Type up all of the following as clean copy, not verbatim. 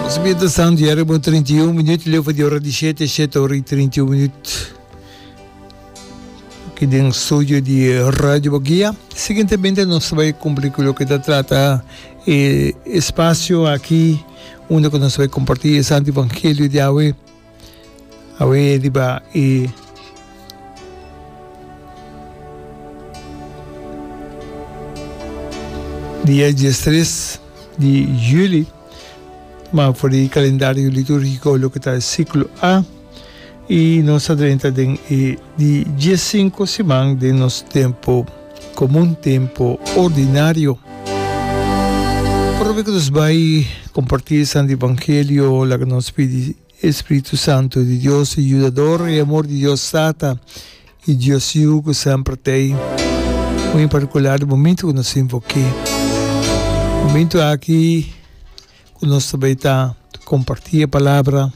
Nos mientras tanto ya riba un 31 minuut leu for di ora di shete, shete ora y 31 minuut aki den studio di Radio Boguia. Siguientemente nos ta bai cumpli cu loke ta trata e espacio aki unda cu nos ta bai comparti e Santo Evangelio di awe. Awe riba e dia diestres di juli, ma for di kalendario litúrgiko loke ta e siklo A, i nos a drenta den e di diesinku siman den nos tempu komun, tempu ordinario. Prome ku nos bai kompartí e Santu Evangelio, laga nos pidi E Spiritu Santu di Dios, e Yudador, e amor di Dios Tata i Dios Yu ku semper t'ei, muy en partikular di momentu ku nos invok'é. Momentu aki ku nos ta bai ta kompartí e palabra,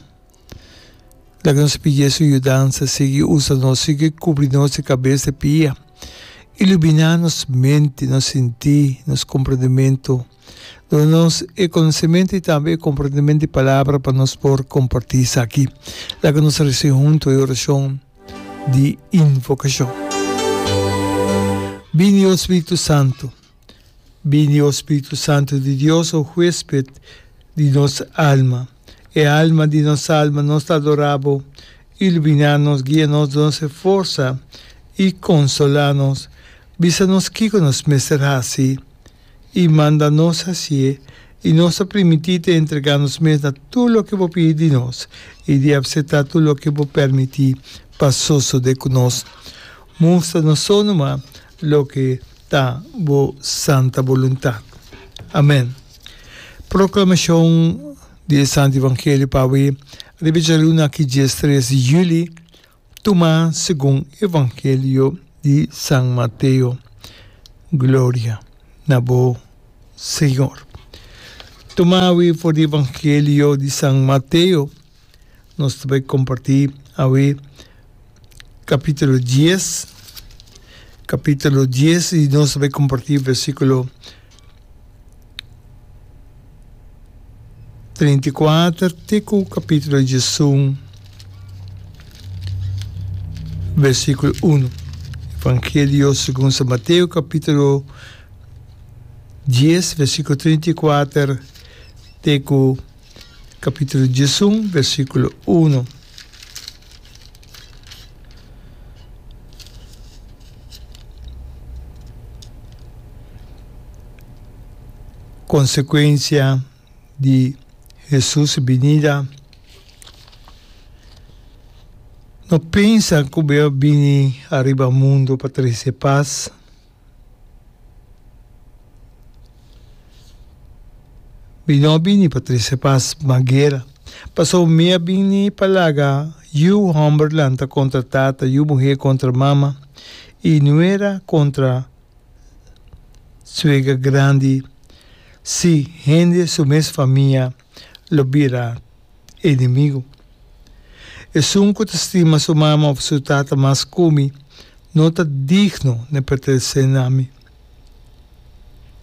laga nos pidié su yudansa, sigui usa nos, sigui kubri nos di kabes te pia, iluminá nos mente, nos sintí, nos komprendementu. Duna nos e konosementu i tambe e komprendementu di palabra pa nos por kompartí esaki. Laga nos resa huntu e orashon di invokashon. Bini, o Spiritu Santu. Bini, o Spiritu Santu di Dios, o huésped di nos alma. E alma di nos alma, nos ta adorá bo. Iluminá nos, guia nos, duna nos e forsa i konsolá nos. Bisa nos kiko nos mester hasi. i manda nos hasié, i nos ta primintí te entregá nos mes na tur loke bo pidi di nos i di apseptá tur loke bo permití pa sosodé ku nos. Mustra nos so numa loke ta bo santa boluntat. Amèn. Proklamashon di e Santu Evangelio pa awe riba djaluna aki diestres di yüli. Tuma segun Evangelio di San Mateo. Gloria na bo, Señor. Tuma awe for di Evangelio di San Mateo. Nos ta bai comparti awe capítulo dies, capítulo dies y nos ta bai comparti versículo 34 te ku kapítulo 11, versíkulo 1. Evangelio segun San Mateo, kapítulo 10, versíkulo 34 te ku kapítulo 11, versíkulo 1. Konsekuensia di Hesus su binida. No pensa ku bo a bini ariba mundu pa trese pas. Mi no a bini pa trese pas, ma guera. Pasobra mi a bini pa laga yu hòmber lanta kontra tata, yu muhé kontra mama, i nuera kontra suega grandi. Sí, hende su mes famia lo bira enemigu. Esun ku ta stima su mama òf su tata mas ku mi, no ta digno na pertenesé na mi.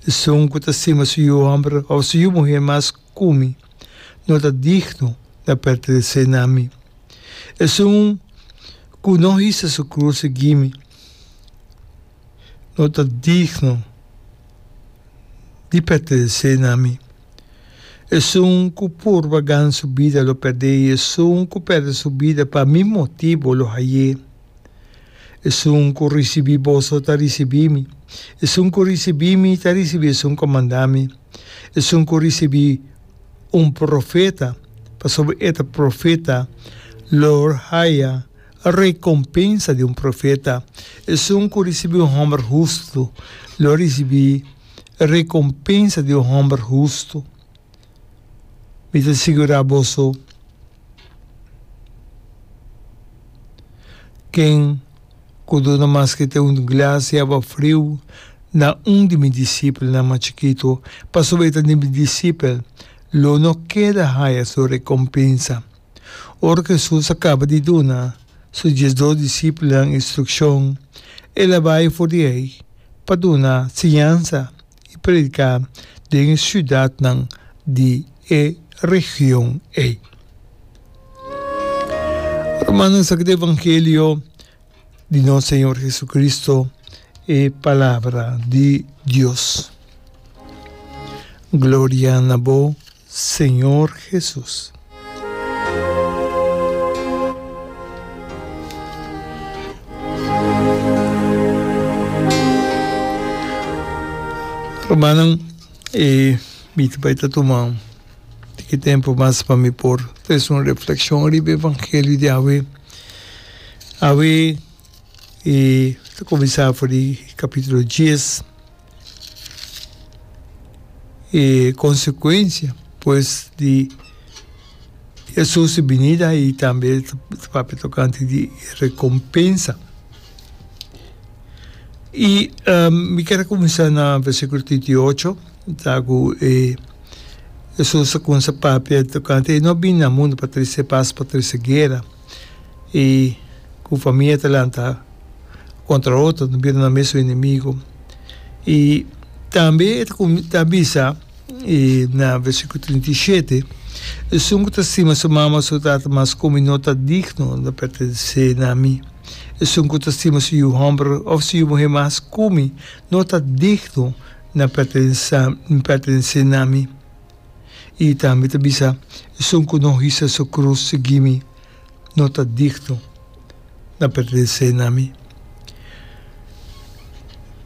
Esun ku ta stima su yu hòmber òf su yu muhé mas ku mi, no ta digno na pertenesé na mi. Esun ku no hisa su krus sigui mi, no ta digno di pertenesé na mi. Esun ku purba gana su bida lo pèrd'é, i esun ku pèrdè su bida pa mi motibu lo hay'é. Esun ku risibí boso ta risibí mi, esun ku risibí mi ta risibí esun ku a manda mi. Esun ku risibí un profeta pasobra e ta profeta lo haya rekompensa di un profeta. Esun ku risibí un hòmber hustu lo risibí rekompensa di un hòmber hustu. Mi ta sigurá boso, ken ku duna maske te un glas di awa friu na un di mi disipelnan mas chikitu, pasobra e ta di mi disipel, lo no keda haya su rekompensa. Ora ku Hesus a kaba di duna su diesdos disipelnan instrukshon, el a bai for di ei pa duna siñansa i prediká den e siudatnan di. e region ei. Rumannan, esaki ta evangelio di nos Señor Jesucristo, e palabra di Dios. Gloria na bo, Señor Jesus. Rumannan, e mi ta bai ta tuma tiki tempu mas pa mi por trese un reflexion riba e evangelio di awe. Awe e ta kuminsá for di kapítulo dies. E konsekuensia pues di Hesus su binida i tambe ta papia tokante di rekompensa. I mi kier a kuminsá na versíkulo 38, ta ku e Hesus a kuminsá papia tokante e no a bini na mundu pa trese pas, pa trese guera. I ku famia ta lanta kontra otro, ta bira nan mesun enemigo. I tambe e ta bisa na versíkulo 37, Esun ku ta stima su mama o su tata mas ku mi no ta digno di pertenesé na mi. Esun ku ta stima su yu hòmber òf su yu muhé mas ku mi no ta digno na pertenesé na mi. I tambe ta bisa, Esun ku no hisa su krus sigui mi no ta digno na pertenesé na mi.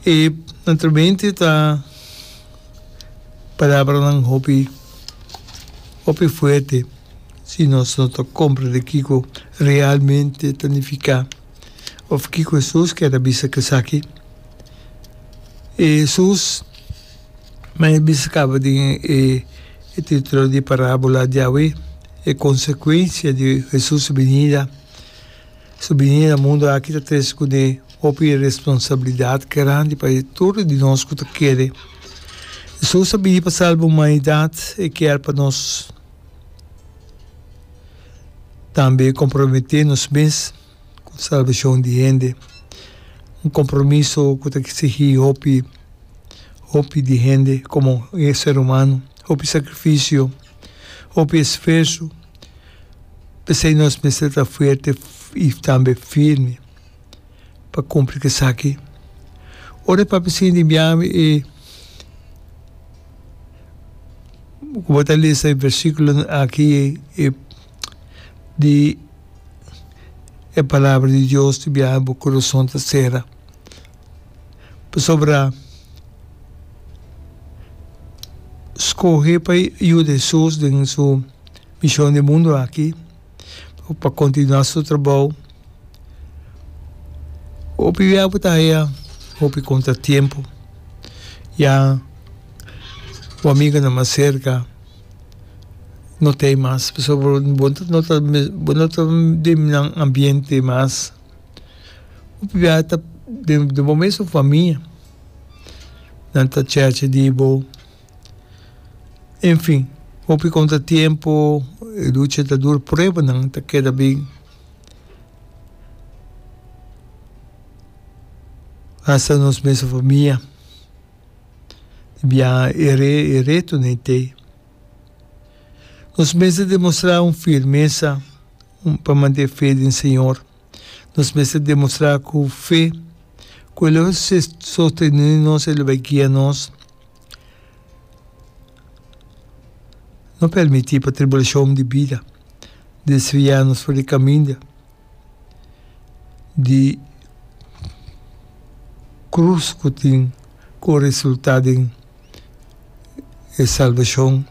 E naturalmente ta palabranan hopi hopi fuerte si nos no ta komprende kiko realmente ta nifiká òf kiko Hesus kier a bisa ku esaki. Hesus. Ma e bisa kaba den e titulo di e parábola di awe, E konsekuensia di Hesus su binida. Su binida na mundu aki ta trese kuné hopi responsabilidat grandi pa e tur di nos ku ta kere. Hesus a bini pa salba humanidat, e kier pa nos tambe komprometé nos mes ku salbashon di hende, un kompromiso ku ta eksigí hopi. Hopi di hende komo e ser humano, hopi sakrifisio, hopi esfuerso. P'esei nos mester ta fuerte i tambe firme pa kumpli ku esaki. Ora e papia sinti biami e ku bo ta lesa e versíkulonan aki e di e palabra di Dios di biaha bo kurason ta sera. Pasobra skohe pa yuda Hesus den su mishon den mundu aki, pa kontinuá su trabou, hopi bia bo ta haya hopi kontratiempo. Ya bo amigonan mas serka no ta ei mas, pasobra bo no ta bo no ta den nan ambiente mas. Hopi biaha ta den bo mesun famia nan ta chèrchè di bo. Enfin, hopi kontratiempo, e lucha ta duru, pruebanan ta keda bin. Hasta nos mesun famia di biaha e retonan ei t'ei. Nos mester demostrá un firmesa. Pa mant'é fe den Señor, nos mester demostrá ku fe ku E lo sostené nos, E lo bai guia nos. No permití pa tribulashon di bida desviá nos for di kaminda di krus ku tin ku resultá den e salbashon.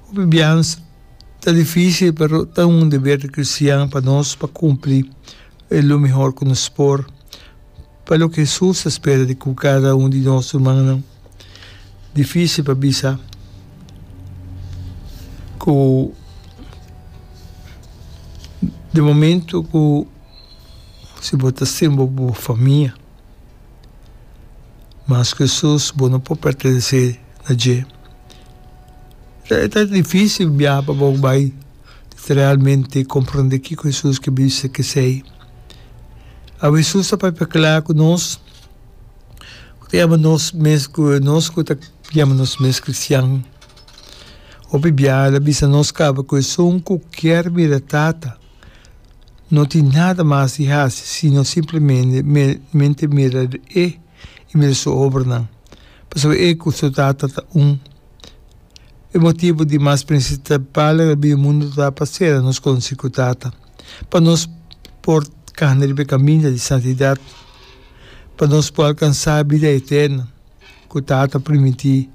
Hopi biaha ta dificil pero ta un deber di cristian pa nos pa cumpli e lo mihor cu nos por pa loke Jesus ta spera di cu cada un di nos rumannan. Dificil pa bisa cu di momento cu si bo ta stima bo famia mas cu Jesus bo no por pertenece na dje. E ta difícil biaha pa bo bai literalmente comprende kiko Hesus ke bisa kesei. Awe Hesus ta papia kla ku nos, ku ta yama nos mes ku nos ku ta yama nos mes kristian. Hopi biaha el a bisa nos kaba ku esun ku kier mira Tata no tin nada mas di hasi sino simplemente mira E i mira Su obranan, pasobra E ku Su Tata ta un. E motibu di mas prinsipal el a bini mundu ta pa sera nos konosí ku Tata, pa nos por kana riba e kaminda di santidat, pa nos por alkansá bida eterno ku Tata a primintí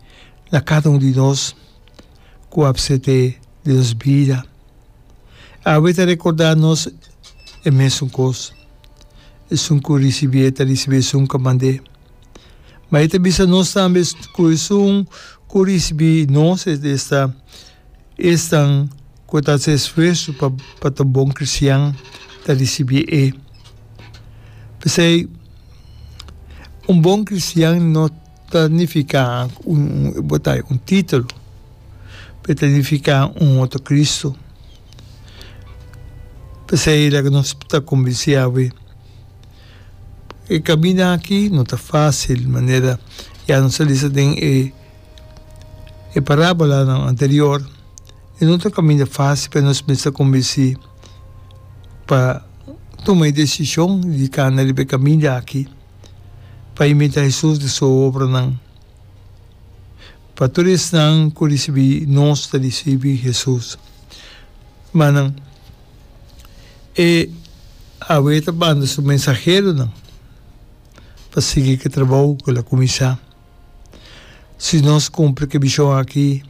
na kada un di nos ku apset'é den nos bida. Awe ta rekordá nos e mesun kos. Esun ku risibié ta risibí esun ku a mand'é. Ma e ta bisa nos tambe ku esun ku risibí nos, esta, esnan ku ta hasi esfuerso pa pa ta un bon kristian, ta risibí e. P'esei, un bon kristian no ta nifiká un bo ta un título, pero ta nifiká un otro Kristu. P'esei laga nos ta konbensí awe. E kaminda aki no ta fásil, manera ya nos a lesa den e e parábolanan anterior. E no ta un kaminda fásil, pero nos mester konbensí pa tuma e desishon di kana riba e kaminda aki, pa imitá Hesus den su obranan. Pa tur esnan ku risibí nos ta risibí Hesus. Manan. E awe ta manda su mensaheronan pa sigui ku e trabou ku el a kuminsá. Si nos kumpli ku e mishon aki,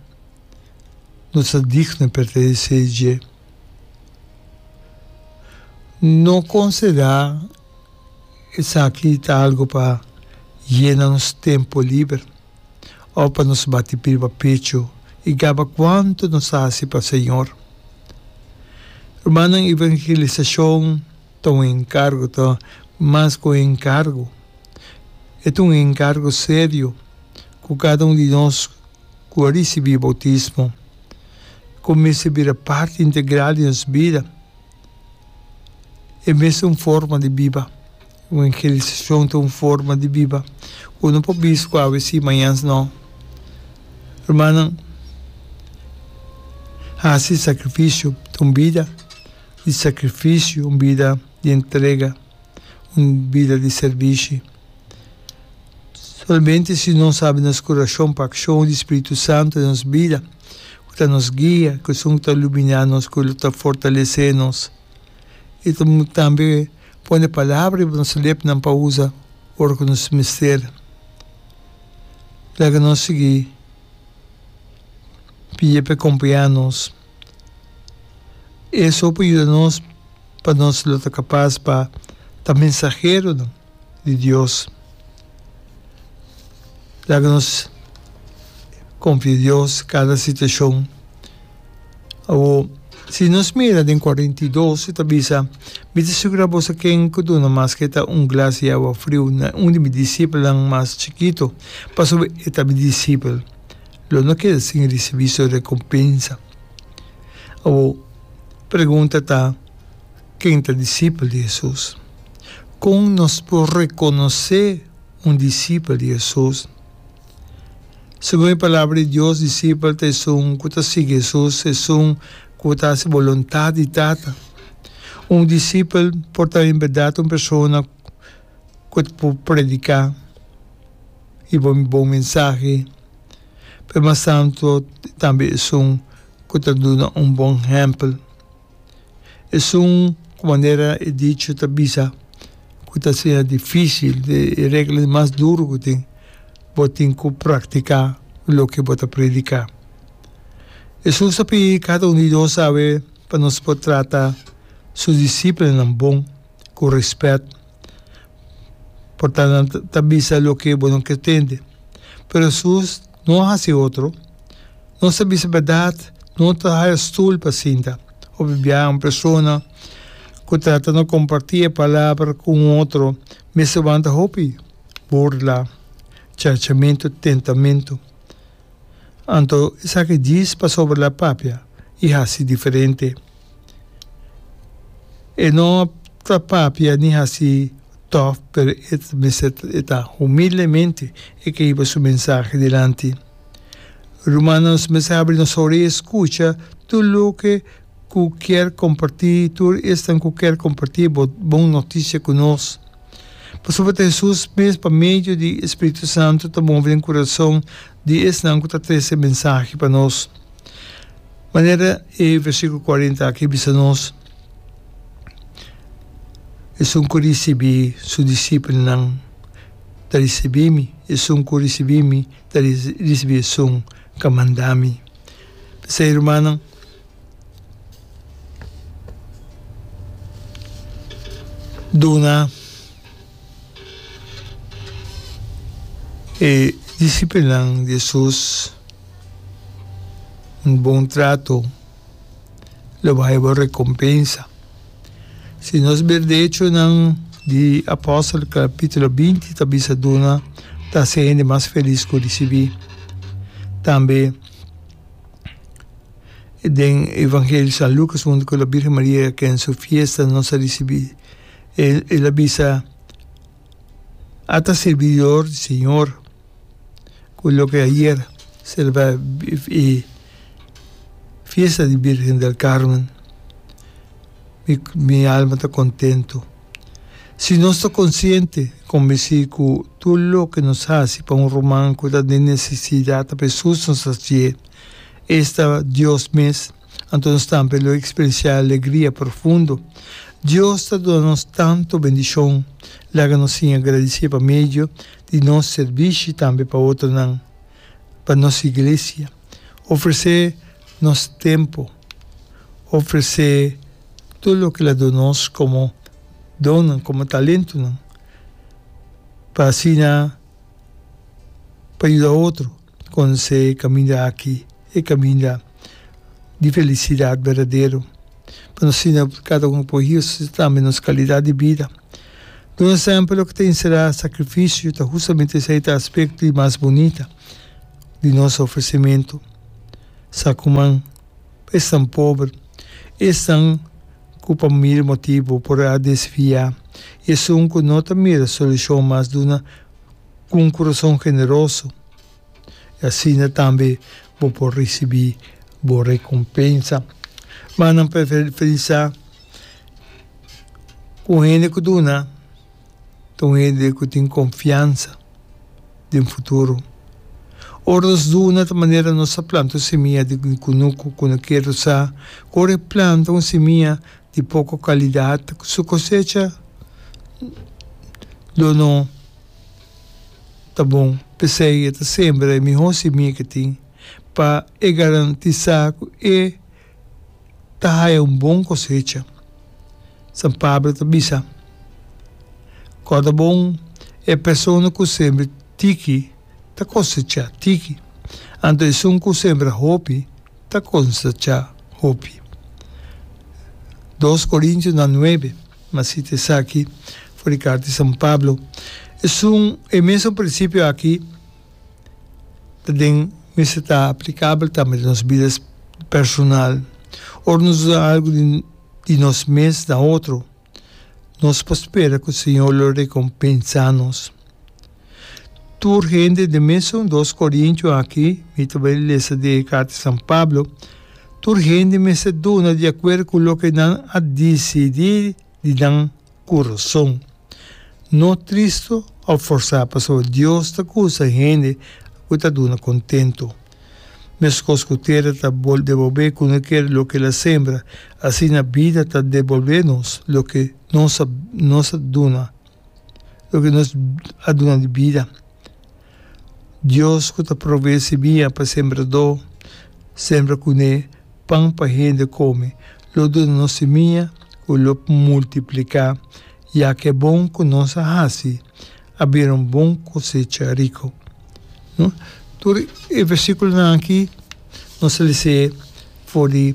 nos ta digno di pertenesé dje. No konsiderá esaki ta algu pa yena nos tempu liber òf pa nos bati riba pechu i gaba kuantu nos a hasi pa Señor. Rumannan, evangelisashon ta un enkargo, ta mas ku un enkargo. E ta un enkargo serio ku kada un di nos ku a risibí boutismo ku mester bira parti integral di nos bida. E mes ta un forma di biba. Evangelisashon ta un forma di biba ku no por bisa ku awe si, mañan no. Rumannan, hasi sakrifisio ta un bida di sakrifisio, un bida di entrega, un bida di sèrbishi. Solamente si nos habri nos kurashon pa akshon di Spiritu Santu den nos bida, ku ta nos guia, ku esun ku ta luminá nos, ku ta fortalesé nos i ta tambe pone palabra riba nos lepnan pa usa ora ku nos mester. Laga nos sigui pidi pa e kompañá nos. Eso por yuda nos pa nos lo ta kapas pa ta mensaheronan di Dios. Laga nos konfia Dios kada situashon. Awor, si nos mira den 42, e ta bisa, Mi ta sigurá boso ken ku duna maske ta un glas di awa friu na un di mi disipelnan mas chikitu, pasobra e ta mi disipel, lo no keda sin risibí su rekompensa. Awor, pregunta ta, Ken ta disipel di Hesus? Kon nos por rekonosé un disipel di Hesus? Segun e Palabra di Dios, disipel ta esun ku ta sigui Hesus, esun ku ta hasi boluntat di Tata. Un disipel por ta en bèrdat un persona ku ta por prediká i bon bon mensahe, pero mas tantu tambe esun ku ta duna un bon ehèmpel. Esun ku manera e dicho ta bisa ku ta asina difísil, e regla di mas duru ku tin, bo tin ku praktiká loke bo ta prediká. Hesus a pidi kada un di nos awe pa nos por trata su disipelnan bon, ku rèspèt. Por ta nan ta bisa loke bo no ke tende. Pero Hesus no a hasi otro. Nos ta bisa bèrdat, no ta haya stul pa sinta. Hopi biaha un persona ku trata no kompartí e palabra ku un otro mester wanta hopi burla, chachamentu, tentamentu. Anto esaki djis pasobra el a papia i hasi diferente. E no ta papia ni hasi tòf, pero e mester e ta humildemente e ke hiba su mensahe dilanti. Rumannan, nos mester habri nos orea i skucha tur loke ku kier kompartí, tur esnan ku kier kompartí e bon notisia ku nos. Pasobra ta Hesus mes pa medio di e Spiritu Santu ta move den kurason di esnan ku ta trese e mensahe pa nos. Manera e versíkulo kuarenta aki bisa nos, Esun ku risibí su disipelnan ta risibí mi, esun ku risibí mi ta risibí esun ku a manda mi. P'esei, rumannan, duna e disipelnan di Hesus un bon trato, lo bo haya bo rekompensa. Si nos ber de Echonan di Apòstel kapítulo 20 ta bisa duna ta hasi hende mas felis ku risibí. Tambe den Evangelio di San Lukas huntu ku la Birgen Maria ken su fiesta nos a risibí el a bisa ata sirbidor di Señor ku loke ayer selebrá e fiesta di Birgen del Carmen mi alma ta kontento. Si nos ta konsiente, konbensí ku tur loke nos hasi pa un ruman ku ta den nesesidat ta pa Hesus nos hasié, esta Dios mes, anto nos tambe lo eksperensiá alegria profundo. Dios ta duna nos tantu bendishon, laga nos siña gradisié pa medio di nos sirbishi tambe pa otronan, pa nos iglesia. Ofresé nos tempu, ofresé tur loke el a duna nos komo donnan, komo talentonan, pa asina pa yuda otro konosé e kaminda aki, e kaminda di felisidat berdadero, pa nos asina kada un por hisa tambe nos kalidat di bida. Duna semper loke ta enserá sakrifisio ta hustamente esei ta aspekto di mas bunita di nos ofresimentu. Sa kuman pa esnan pober, esnan ku pa mil motibu por a desviá, i esun ku no ta mira solushon mas duna ku un kurason generoso, i asina tambe bo por risibí bo rekompensa. Ma nan preferensá ku un hende ku duna ta un hende ku tin konfiansa den futuro. Ora nos duna ta manera nos ta planta un simia di kunuku ku no kier sa ku ora e planta un simia di poko kalidat su kosecha lo no ta bon. P'esei e ta sembra e mihó simia ke tin pa e garantisá ku e ta haya un bon kosecha. San Pablo ta bisa, Kòrda bon, e persona ku sembra tiki ta kosechá tiki, anto esun ku sembra hopi ta kosechá hopi. Dos Korintionan nuebe, M'a sita esaki for di karta di San Pablo. Esun, e mesun prinsipio aki ta den mester ta aplikabel tambe den nos bida personal. Ora nos duna algu di di nos mes na otro, nos por spera ku Señor lo rekompensá nos. Tur hende den mesun dos Korintio aki, mi ta bai lesa di e karta di San Pablo, tur hende mester duna di akuerdo ku loke nan a disidí di nan kurason. No tristu òf forsá, pasobra Dios ta gusta hende ku ta duna kontentu. Meskos ku tera ta debolbé kunuker loke el a sembra, asina bida ta debolbé nos loke nos a nos a duna, loke nos a duna di bida. Dios ku ta proveé simia pa sembradó sembra kuné pan pa hende kome, lo duna nos simia ku lo multipliká, ya ku e bon ku nos a hasi a bira un bon kosecha riku. No? Tur e versíkulonan aki nos a les'é for di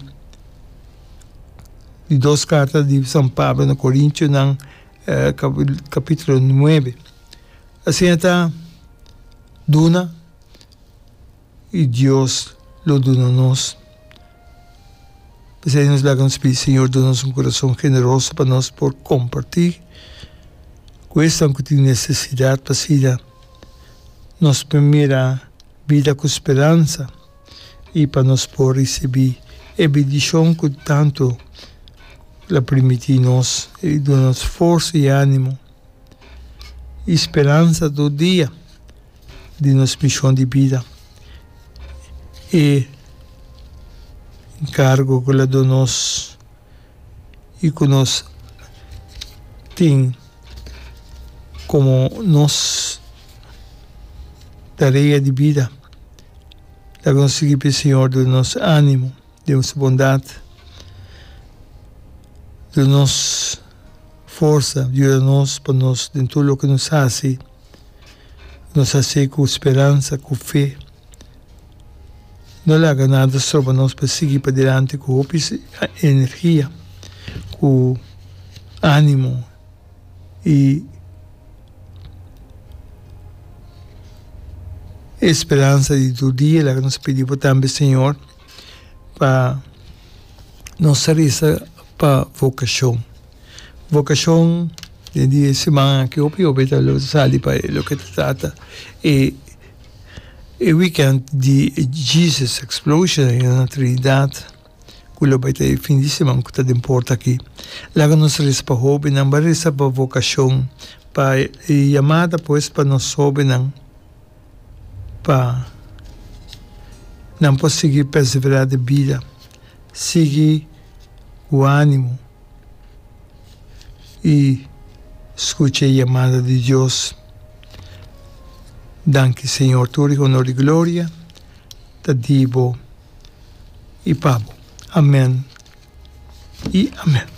di dos karta di San Pablo na Korintionan kapítulo nuebe. Asina ta duna i Dios lo duna nos. P'esei nos laga nos pidi Señor duna nos un kurason generoso pa nos por kompartí ku esnan ku tin nesesidat pa asina nos por mira bida ku speransa. i pa nos por risibí e bendishon ku tantu El a primintí nos i duna nos forsa i ánimo i speransa tur dia di nos mishon di bida. E enkargo ku El a duna nos i ku nos tin komo nos tarea di bida. Laga nos sigui pidi Señor duna nos ánimo den su bondat, duna nos forsa, yuda nos pa nos den tur loke nos hasi, nos hasié ku speransa, ku fe. No laga nada stroba nos pa sigui padilanti ku hopi energia, ku ánimo i e speransa di tur dia. Laga nos pidi bo tambe, Señor, pa nos ta resa pa vokashon. Vokashon den di e siman aki hopi hopi ta lo sali pa loke ta trata e E weekend di Jesus Explosion na Trinidad cu lo bay ta e fin di siman cu ta den porta aki. Laga nos reza pa hobennan, bay reza pa vocacion, pa e yamada pues pa nos hobennan pa nan por sigui persevera den bida, sigui cu animo. I skucha e yamada di Dios. Danki Señor, tur e honor i gloria ta di bo i pa bo. Amen i amen.